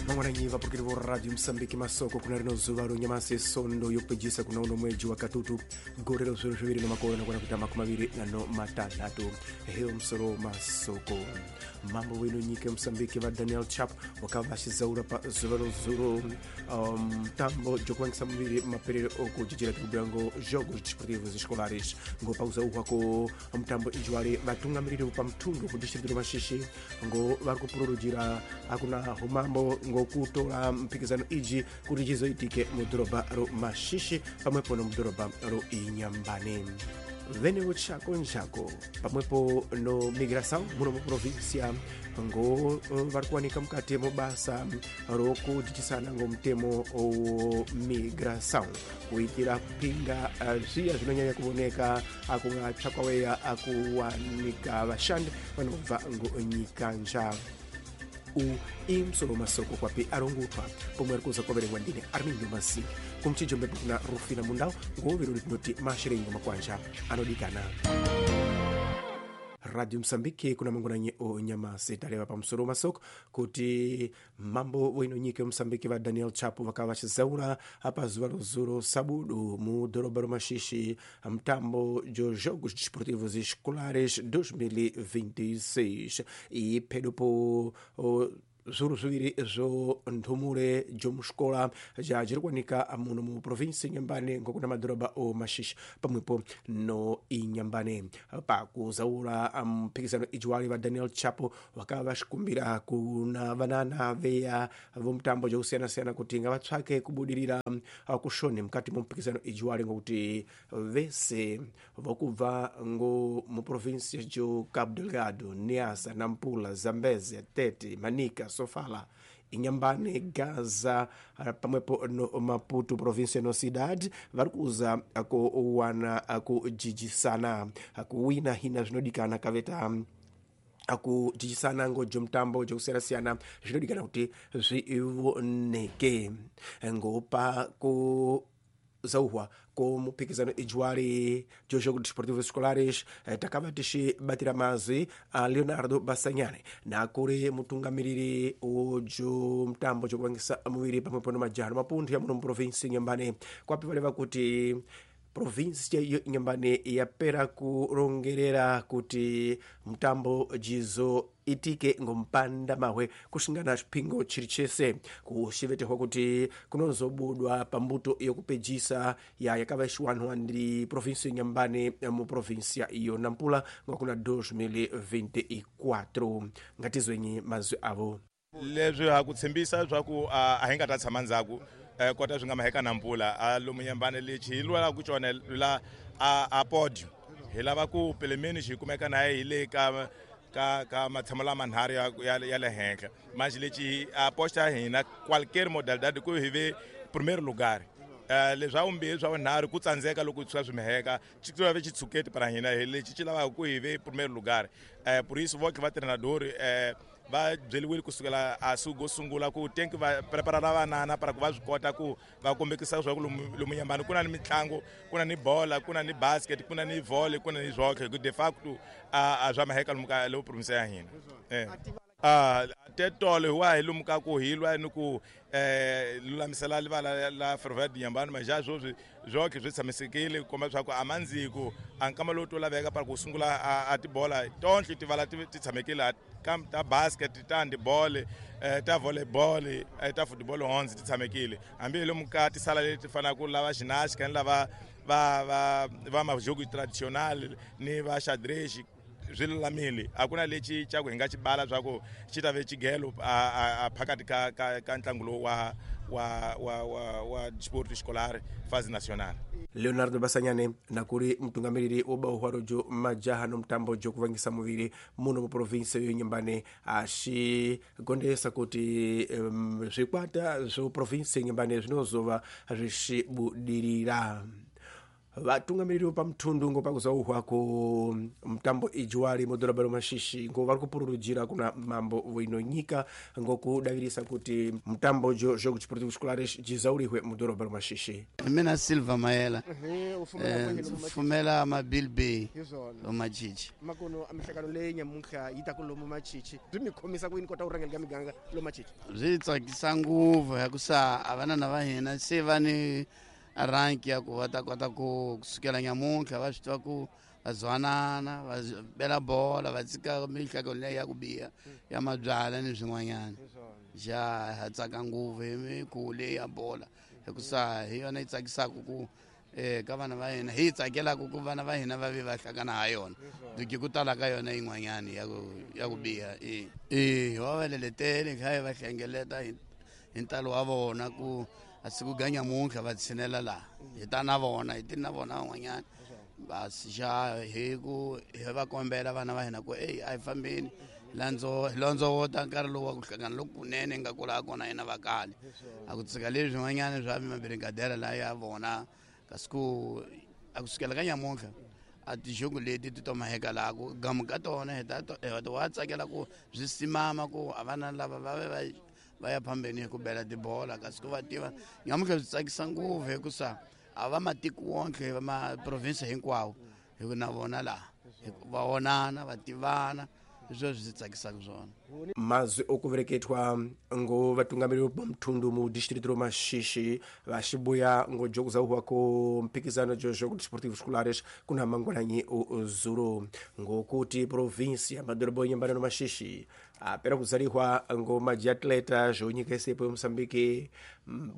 Mangwananyi vapurukiri vo Radio Mosambiki, masoko kuna rino zuva ronyamasi sondo yopejisa kuna uno mweji wa katutu gore ro zviro zviviri nomakore nakwana kuita 26. Heyo musoro masoko. Mambo wino nyika Mosambiki va Daniel Chapo wakava pa zuva rozuro mutambo jokuvangisa muviri maperero okujijira tikubhuya ngo jogos desportivos escolares ngo pauzauhwa ko mutambo ijwari vatungamiriri pamutundu ku distrito ro Mashishi ngo vari kupururujira akuna humambo ngokutora mpikizano iji kuti chizoitike mudhorobha ro Mashishi pamwepo nomudhorobha ro Inyambane. Venewo chako nchako pamwepo no migração muno muprovinsia ngo vari kuwanika mukati mubasa rokudzidzisana ngo mutemo wo migração kuitira kupinga zviya zvinonyanya kuvoneka akungatsvakwaweya akuwanika vashandi vanobva ngo nyikanja. U imusoro masoko kwapi arongutwa pomwe ari kuza kwaverengwa ndine Armindo Masiki kumchijo mbepo kuna Rufina Mundau ngoviro tinoti mashirengo makwanja anodikana. Radio Mosambiki kuna mangwananyi o nyamasi taleva pamusoro masoko kuti mambo wino nyika Mosambiki va Daniel Chapo vakava vachizaura apa zuva rozuro sabudu mu dhorobha ro Mashishi mutambo jo Jogos Desportivos Escolares 2026 e pedopo zvuru zviviri zvo nthumure jomuxikola ja jiri kuwanika muno mu provinsi Inhambane ngokuna madhorobha o Mashishi pamwepo no Inhambane. Pakuzaura mphikizano ijiwali va Daniel Chapo vakava vaxikumbira kuna vanana veya vomutambo jakusiyana-siyana kuti ngavatsvake kubudirira kushoni mukati mo mphikizano ijiwali ngokuti vese vokubva ngo mu provinsi jo Cabo Delgado, Niassa, Nampula, Zambezia, Tete, Manica, Sofala, Inhambane, Gaza pamwepo no Maputo província no cidade vari kuza kuwana kujijisana kuwina hina zvinodikana kaveta akujijisana ngojo mutambo jokusiyana-siyana zvinodikana kuti zvivoneke ngopa ku zauhwa ko muphikizano ijwari jo Jogos Desportivos Escolares takava tixibatira mazwi a Leonardo Basanyane nakuri mutungamiriri wojo mutambo jokuvangisa muviri pamwepo no majaha no mapunthu ya muno muprovinsi Inhambane kwapi valeva kuti provinsi yo Inhambane yapera kurongerera kuti mutambo jizo itike ngompanda mahwe kusingana chipingo chiri chese kuxivetehwa kuti kunozobudwa pambuto yokupejisa ya yakava ixiwanwa ndi provinsi Inhambane mu provinsia iyo Nampula ngokuna 2024. Ngatizwenyi mazwi avo. Leswi ha ku tshembisa swa ku a hi nga ta tshama ndzhaku kota swi nga maheka Nampula a lomu Inhambane lexi hi lwelaka xona la a podio hi lava ku pelemeni xi kumeka na hi le ka ka matshamo lama nharhu ya le henhla manje lexi a posta hina qualquer modalidade ku hi ve primeiro lugar. Leswa vumbirhi swa vunharhu ku tsandzeka loko swi swi miheka xi ve xitshuketi para hina hi lexi xi lavaka ku hi ve primeiro lugar. Por isso voke va treinador va byeliwile kusukela a sugo sungula ku tenki va preparara vanana para ku va swi kota ku va kombekisa swa ku lomu Inhambane ku na ni mitlangu, ku na ni bola, ku na ni basket, ku na ni volley, ku na ni zwoke ku de facto a swa maheka lomu ka lomu province ya hina. Tetolo hi wa hi lomu ka ku hi lwa ni ku lulamisela livala la Ferroviário de Inhambane mas já sweswi zwoke swi tshamisekile ku komba swa ku a mandziku a nkama lowu to laveka para ku sungula a tibola tonhle tivala ti tshamekile ta basket, ta handball, ta volleyball, ta football honzi ti tshamekile hambi hi lomu ka tisala leti fanaka lava ginástica ni lava va va majogo traditional ni va xadrez swi lulamile. A ku na lexi xa ku hi nga xi bala swa ku xi ta ve xigelo a phakathi ka ntlangu lowu wa sport escolar fase nacional. Leonardo Basanyane nakuri mutungamiriri wo bauhwaro jo majaha no mutambo jo kuvangisa muviri muno mu provinsi yo Inhambane axigondesa kuti zvikwata zvo provinsi Inhambane zvinozova zvixibudirira. Vatungamiriri vepamutundu ngo pakuzauhwa ku mutambo ijuwali mudhorobha romashishi ngo vari kupururujira kuna mambo wino nyika ngokudavirisa kuti mutambo jo jogo desportivo escolares jizaurihwe mudhorobha romashishi. Mina Silva Mayela, fumela ma-Bill Bay lomachichi. Makono a mihlangano leyi nyamuntlha yi ta ku lomu machichi byi mi khomisa ku yini kota ku rhangela ka miganga lomachichi? Byi tsakisa ngopfu hikusa a vanana va hina se va ni rank ya ku va ta kota ku kusukela nyamuntlha va swi tiva ku va zwanana, va bela bola, va tshika mihlangano leyi ya ku biha ya mabyala ni swin'wanyana. Ja ha tsaka ngopfu hi mikhuvo leyi ya bola hikusa hi yona yi tsakisaka ku ka vana va hina, hi yi tsakelaka ku vana va hina va ve va hlangana ha yona, duki ku tala ka yona yin'wanyana ya ku biha. E va va leletele kha hi va hlengeleta hi ntalo wa vona ku a siku ga nyamuntlha va tshinela laha hi ta na vona, hi ti na vona van'wanyana basi xa hi ku hi va kombela vana va hina ku eyi a hi fambeni hi londzovota nkarhi lowu wa ku hlangana lokunene hi nga kula kona hina va kale, a ku tshika leswi swin'wanyana swa mabirigadela laha ya vona. Kasi ku a kusukela ka nyamuntlha a tixongo leti ti to maheka laha ku gamu ka tona hi ta wa tsakela ku byi simama ku a vana lava va ve va ya phambeni hi ku bela tibola. Kasi ku va tiva nyamuntlha byi tsakisa ngopfu hikusa a va matiko wonke va maprovinsi hinkwawo hi ku na vona laha va vonana va tivana, hi swona swi tsakisaka swona. Mazwi okuvereketwa ngo vatungamiriri va muthundu mu distrito romashishi vaxibuya ngo jokuzauhwa ku mphikizano jo jogo desportivo escolares kuna mangwananyi zulu ngokuti provinsia ya madorobo nyambana no mashishi apera kuzalihwa ngo majiatleta zvo nyika isepo yomoçambique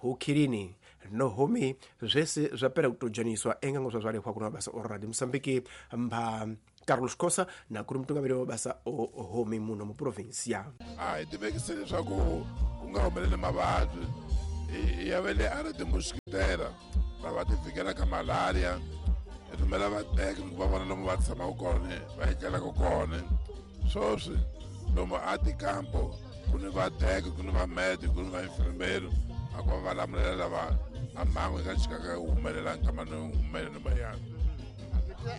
hukhirini no homi zvese zvapera kutojaniswa enga ngo zvazvalihwa kuna mabasa o radio Moçambique mpha Carlos Khosa na kuri mutungamiri wa mabasa o homi muno mu provinsia. A hi tivekise leswaku ku nga humeleli mavabyi ya ve le a ri timuxikitela va va ti fikela ka malaria, hi rhumela vateki ku va vona lomu va tshamaka kona va etlelaka kona. Sweswi lomu a tikampo ku ni vateki, ku ni vamedi, ku ni vainfirmeri a ku va va lamulela lava a mhangu yi nga chikaka yi humelela nkama ni humeleni mayana.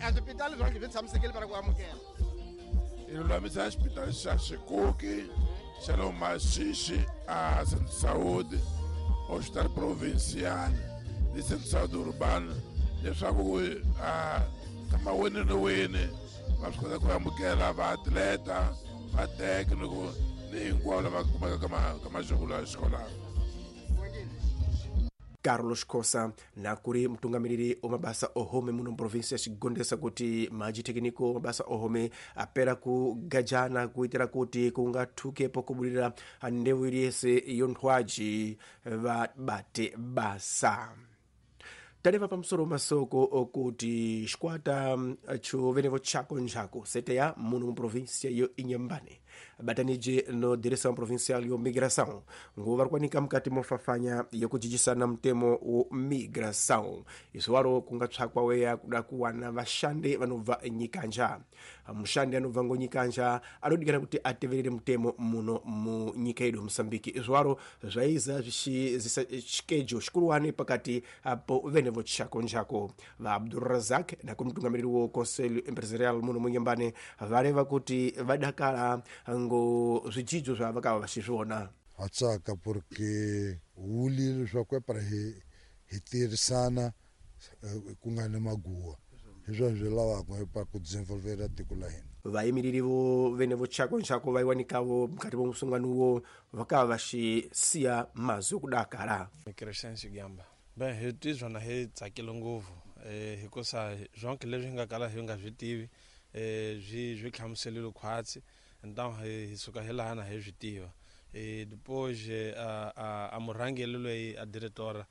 A swipitali swa swi tshamisekile va ku amukela. Hi lulamisa xipitali xa Xikuki xa lo Mashishi a Centro Saúde, Hospital Provincial ni Centro Saúde Urbano leswaku a kama wini ni wini va swi kota ku amukela vaatleta, vateki ni ku ni hinkwavo lava kumekaka ka majoko ya xikolano. Carlos Khosa na kuri mutungamiriri wa mabasa ohome muno provinsia xigondesa kuti majitekniko mabasa ohome apera kugajana kuitira kuti kungathukepo kubulira ndewu iliyese yonthwaji vabate basa. Taleva pamusoro masoko okuti xikwata chovenevo chako njaku seteya muno mu provinsia yo Inhambane batanije no direção provincial yo migração ngo vari kuwanika mukati mofafanya yokujijisana mutemo wo migração. Izvo waro kungatsvakwa weya kuda kuwana vashandi vanobva nyikanja. Mushandi anobva ngo nyikanja anodikana kuti ateverere mutemo muno mu nyika yedu Moçambique. Izvo waro zvaiza zvichizisa chikejo xikuruwani pakati po venevo chako njako. Va Abdulrazak na kumutungamiriri wo Conselho Empresarial muno munyambane vareva kuti vadakala ngo zvijidzo zvavakava vachizviona. Ha tsaka porque wuli leswaku para hi tirhisana ku nga ni maguwa, hi swona swi lavaka pa ku desenvolvera tiko la hina. Vayimiriri vo vene vo chako nchako vaiwanikavo mukati mo musungano wo vakava vaxisiya mazwi okudakala. Crescêncio Gamba. Bem, hi tizwa na hi tsakile ngopfu hikusa zonke leswi hi nga kala hi nga swi tivi swi hlamuselile khwatsi, então hi suka hi laha na hi swi tiva. Depois a murhangeri loyi a diretora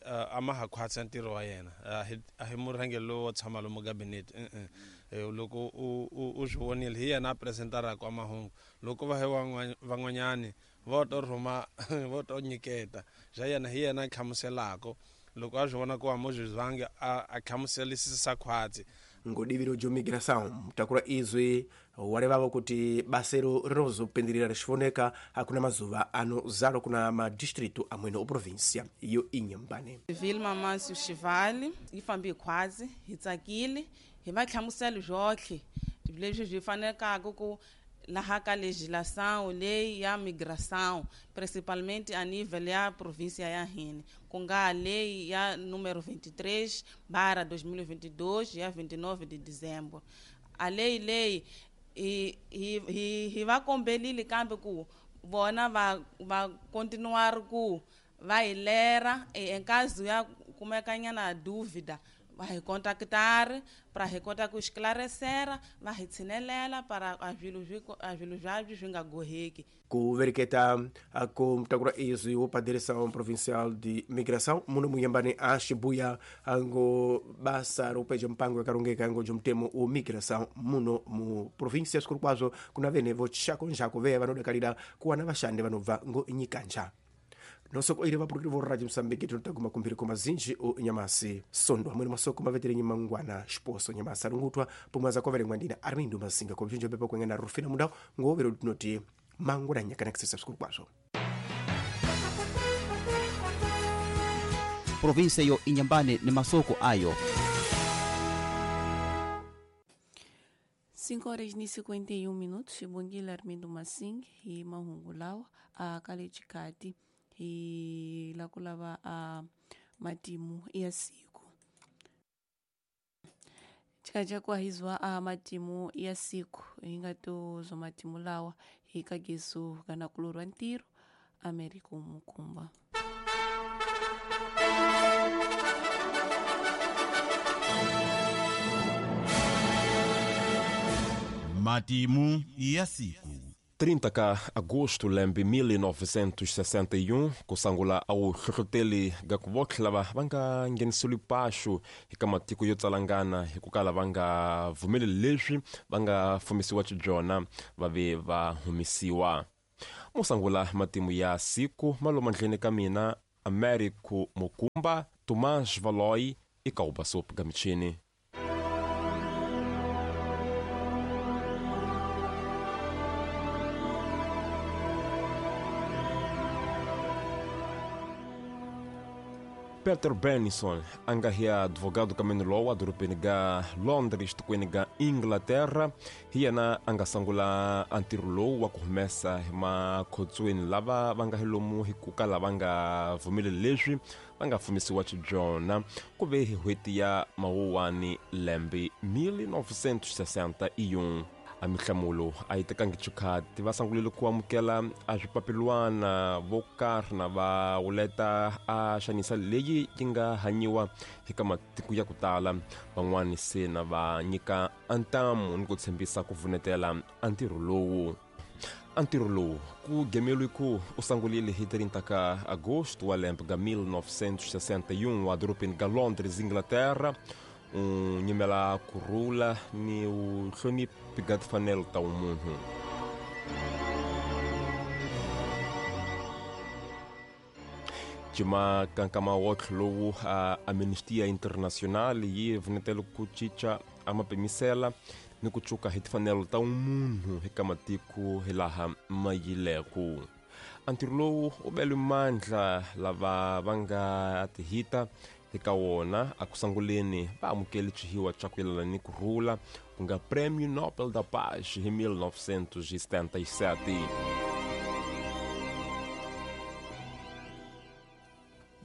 a ma ha khwatsa ntirho wa yena, a hi murhangeri lowu wo tshama lomu gabinete. Loko u swi vonile hi yena a presentaraka a mahungu, loko va hi van'wanyani vo to rhuma vo to nyiketa bya yena, hi yena a hlamuselaka. Loko a swi vona ku a mo swi zwangi a hlamuselisisa khwatsi. Ngodiviro jo migração mutakura izwi walevavo kuti basero rinozopindirira rixivoneka hakuna mazuva anozalo kuna madistritu amwene o província yo Inhambane. Vilma Mancio Xivali yi fambe khwazi hi tsakile hi va hlamusela byotlhe leswi byi fanelaka ku laha ka legislação leyi ya migração principalmente a nível ya província ya hina ku nga lei ya número 23/2022 ya 29 de dezembro. A lei leyi hi va kombelile kambe ku vona va continuar ku va hi lera em caso ya kumekanyana dúvida va hi contactar para hi kota ku esclarecer va hi tshinelela para a swilo swabyo swi nga goheki. Ku vereketa ku mutakura izwi wo paderesa provincial de migração muno munyambani a Shibuya ngo basa ropeja mpango yakarongeka ngo jomtemo o migração muno mu província sikuru kwazo kuna vene vochakonjako veya vanodakalira kuwana vashandi vanobva ngo nyikanja. Nosoko iri vapurukiri vo Radio Mozambique tinotaguma kumbiri kumazinji o nyamasi sondo amweni masoko mavetere mangwana xiposo nyamasi arungutwa pomwe azakoverengwa ndina Armindo Masinga kobvinjo pepa kuengana Rufina Mundau ngovero tinoti mangwana nyakanakisisa sikuru kwazvo. Província yo Inhambane ni masoko ayo. 5 horas e 51 minutos, Xibongile Armindo Masing hi mahungu lawa a kalechikati hi la ku lava a matimu ya siku. Chikaja kuahizwa a matimu ya siku hi nga tozwa matimu lawa hi kagesu kana kulorwa ntirho Amerika Mukumba. Matimu ya siku. 30 ka agosto lembe 1961 kusangula au hlohloteli ga ku lava va nga ngheniseli paxu eka matiko yo tsalangana hi ku kala va nga vumeli leswi va nga fumisiwa xibyona va ve va humisiwa. Musangula matimu ya siku malomandleni ka mina Américo Mukumba, Tomás Valoi e Kaubasop Gamichini. Peter Benison, anga hi advogado kamene lowa dorobeni ga Londres tikweni ga Inglaterra, hi yena a nga sungula a ntirho lowu wa ku humesa hi makhotsweni lava va nga hi lomu hi ku kala va nga vumeli leswi va nga fumisiwa xibyona ku ve hi n'hweti ya Mawuwani lembe 1961. A mihlamulo a yi tekangi xikhati va sungulile ku amukela a swipapilwana vo karhi na va wuleta a xanisa leyi yi nga hanyiwa eka matiko ya ku tala. Van'wani se na va nyika ntamu ni ku tshembisa ku vunetela a ntirho lowu. A ntirho lowu ku gemeliwe ku u sungulile hi 30 ka agosto wa lembe ga 1961 a dorobeni ga Londres, Inglaterra. U nyimela kurhula ni u hloniphi ga timfanelo ta vumunhu. Cima kankama wotlhe lowu a Amnistia International yi vunetele ku cinca a mapimisela ni ku cuka hi timfanelo ta vumunhu eka matiko hilaha ma yileku. A ntirho lowu u bele mandla lava va nga tihita eka wona a ku sunguleni va amukele xihiwa xa ku yelana ni ku rhula ku nga Prêmio Nobel da Paz hi 1977.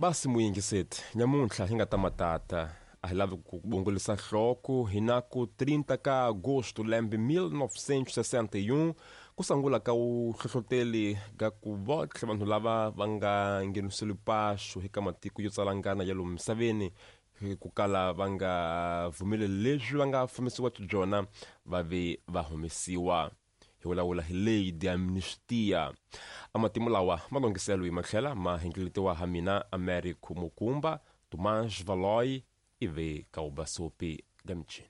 Basi muyingiseti nyamuntlha hi nga ta matata a hi lavi ku bongolisa nhloko hi na ku 30 ka agosto lembe 1961 ku sungula ka u hlohloteli ga ku votlhe vanhu lava va nga ngheniseli paxu eka matiko yo tsalangana ya lomu misaveni hi ku kala va nga vumeli leswi va nga fumisiwa xibyona va ve va humesiwa. Hi vulavula hi lei de amnistia. A matimu lawa ma longhiselo hi matlhela ma hingeletiwa ha mina Américo Mukumba, Tomás Valoi e ve Kaubasopi Gamichini.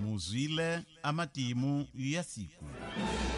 Muzwile amatimu ya siku.